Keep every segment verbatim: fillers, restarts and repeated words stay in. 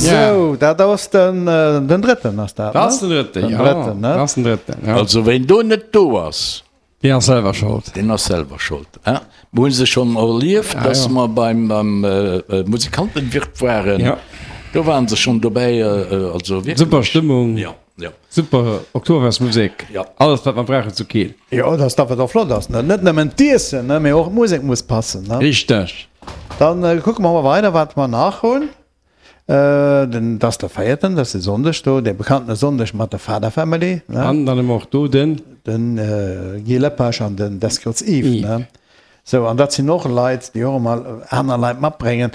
Sou, dat ass den, den drëtten ass dat, ne? Dat ass den drëtten, jo. Den drëtten, ne? Dat ass den drëtten, jo. Also ween do net do ass. Deen ass selwer schold. Deen ass selwer schold, hein. Mer hu se schonn erlieft, dass mer beim, beim Musikantenwirt waren. Jo. Do waren se schonn dobäi, also wierklech. Super Stëmmung. Jo, jo. Super Oktoberfestmusek. Jo. Alles wat mer brauchen zu Keel. Jo, dass dat wat och flott ass, ne? Net nëmmen d'Iessen, ne, mee och d'Musek muss passen, ne? Richteg. Dann kucke mer mol weider, wat mer nach hunn. Den, dat ass de véierten, dat ass de Sonndeg do, dee bekannte Sonndeg mat der Father Family, ne? An dann hu mer och do den. Den Guy Lepage an den Descots Yves, ne? Sou, an dat sinn och Leit, déi och ëmmer aner Leit matbréngen.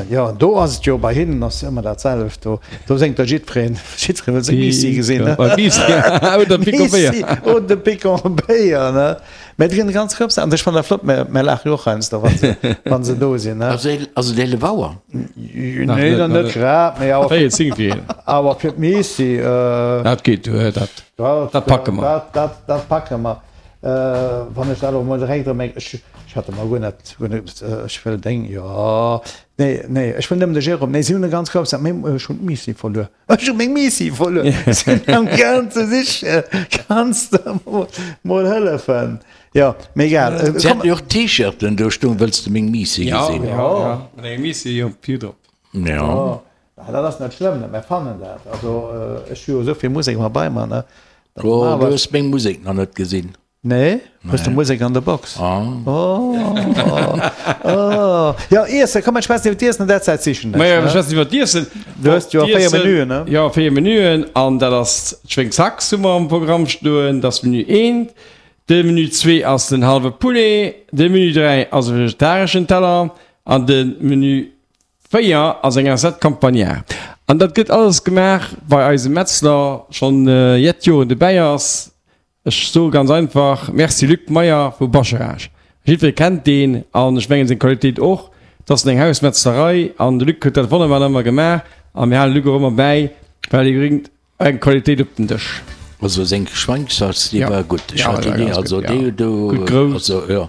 Jo, an do ass et jo, bei hinnen ass ëmmer dat selwecht do. Do séngt da jiddwereen, jiddweree wëll seng Miissi gesinn, ne? Oder de Picon Béier. Oder de Picon Béier, ne? Mä déi ginn ganz Rëps an ech fannen dat flott, mä mär laache jo och heiansdo, wa se, wa se do sinn, ne? Ass et, ass et eelef Auer? Nee, dann net grad, mä awer. Véiel zéng fir eelef. Awer fir d'Miissi. Dat geet duer, dat, dat packe mer. Dat, dat, dat packe mer. Wann ech dat elo emol direkt erëm, ech hat emol guer net, guer net, ech wëll deng, jo, nee, nee, ech wëll nëmmen de Jérôme, nee, si hunn e ganz grouss, mee ech hunn d'Miissi verluer, ech hu meng Miissi verluer, sinn am gaang ze sichen, kanns de mer mol hëllefen? Jo, mee egal. Si haten jo och T-Shirten do stoen, Wëlls de meng Miissi gesinn? Jo, jo, mat enger Miissi op Vue drop. Jo. Dat ass net schlëmm, mer fannen dat, also ech hu jo esou vill Musek ëmmer bei mer, ne. Oh, du hues meng Musek nach net gesinn. Nee, hues de Musek an der Box? Oh. Oh. Jo, Iessen, komm, mir schwätzen iwwer d'Iessen an där Zäit sichen ech. Majo, mir schwätzen iwwer d'Iessen. Du hues jo véier Menüen, ne? Jo, véier Menüen, an dat ass d'Schwéngshax hu mer am Programm stoen, dat ass Menü eent. De Menü zwee ass den hallwe Poulet, de Menü dräi ass e vegetareschen Teller an de Menü Véier ass eng Assiette Campagnard. An dat gëtt alles gemaach bei eisem Metzler, schonn jett Joren dobäi ass. Ech soe ganz einfach Merci Luc Meyer vu Bascharage. Jiddweree kennt deen an ech mengen seng Qualitéit och. Et ass eng Hausmetzlerei an de Luc huet dat wonnerbar ëmmer gemaach a mir halen de Luc och ëmmer bäi, well hie bréngt eng Qualitéit op den Dësch. Also seng Schwéngszalz déi war gutt. Ech hat déi, also déi do, also jo.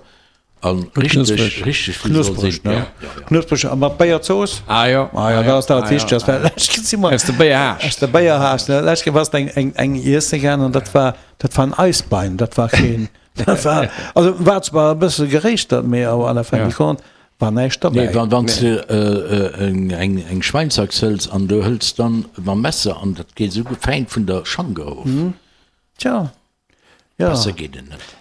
An richteg, richteg wéi soll sinn. Ne? Ja, ja. Knuspreg a mat Béierzooss? Ah jo. Ah jo, dat ass dat Wichtegst. Well lech Kéier si mer. Aus der Béierhaascht. Aus der Béierhaascht, ne. Lech Kéier warst eng, eng, eng iesse gaangen an dat war, dat war en Eisbein, dat war keen, dat war, also war zwar e bësse geréischtert, mee awer à la fin du compte war näischt derbäi. Nee, wann, wann s de eng, eng, eng Schweinshax hëls an du hëls dann mam Messer an dat geet esou fäin vun der Schank erof. Tja, jo. Besser geet et net.